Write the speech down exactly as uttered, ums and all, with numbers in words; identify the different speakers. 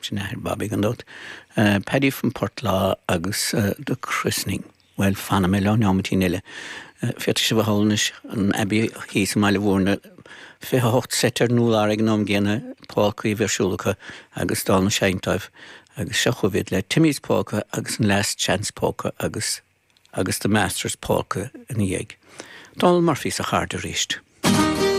Speaker 1: Sin athair Bobby gan dabht. Uh, Paddy from Portlaw agus uh, The Christening. Well fanfaidh mé leo nóiméidín eile. Uh, Féadfaidh sibh a shamhlú an Abbey thíos i mBaile Mhúirne fiche hocht set ar an urlár ag an am gcéanna polcaí ar siúl acu agus dál na seinnteoirí agus seo chugaibh le Timmy's Polka agus an Last Chance Polka agus agus the Masters Polka ina dhiaidh. Donal Murphy sa chairt arís.